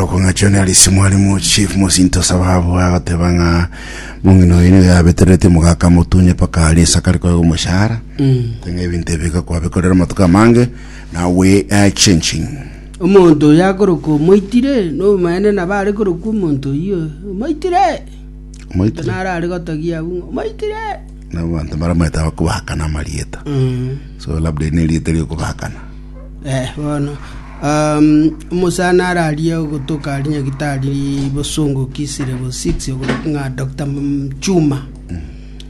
Akorokwa ng'a John Arisi mwalimu chief mosinto sababu agoteba ng'a mong'ina oyo nigo yabeterereti omogaka amotunye mpaka aria ase akare koegwa omoshahara teng'a ebinto ebi gakwabikorera amatuko amange now we are changing Omonto oyo akorokwa omoitire, nobomaene nabo are korokwa omonto oyio, omoitire! Omoitire? Naro are gotogia abwo ng'a omoitire! Na abanto mbaramanyete abakobakana amarieta so labda eri nerieta riokobakana Eh, bono um, omosani ararie ogotoka aria nyagitari bosongo Kisii level 6 okorokwa ng'a Dr. Mchuma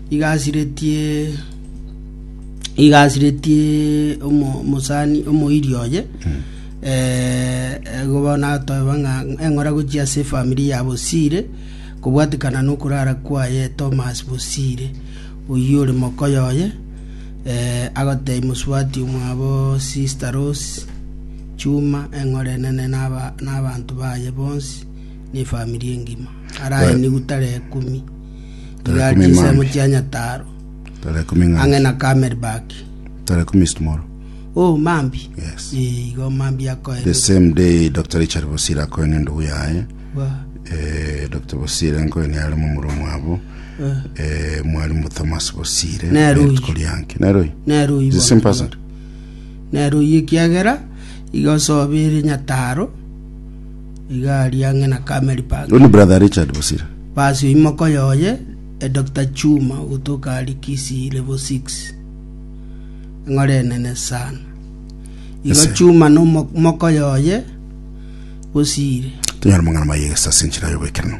iga asiretie iga asiretie omo- omosani omoiri oye eh, igo bono atoeba ng'a eng'ora gochia ase efamiri ya Bosire kobwatikana nokorara kwaye Thomas Bosire oyio ore mokoyo oye Eh, agotebia mosubati omwabo Sister Rose Chuma eng'ora enene naba nabanto baye bonsi na efamiri engima. Araenigwe tarehe ikomi. Tarehe Iga ikomi chinsemo mambia. chia Nyataro Tarehe ikomi ng'a- ang'e na Camelback. Tarehe ikomi is tomorrow. Oh, mambi. Yes. Eh, igo mambi The akoenigwa. same day Dr. Richard Bosire akoenia endugu yaye. Wa. Eh, Dr. Bosire nkoenia are momura omwabo. Eh, mwalimu Thomas Bosire. Nere oyio. Rituko rianke. Nere oyio. Nere oyio Is the same person? Nere oyio ekiagera iga osobire Nyataro iga aria ang'e na Camel Park. Oyo ni brother Richard Bosire. Basi oyio mokoyo oye e Dr. Chuma ogotoka aria Kisii level 6. Eng'ora enene sana. Igo Ese. Chuma no mokoyo oye Bosire. Tonyare mang'ana maye egesa ase enchera y'oboikeranu.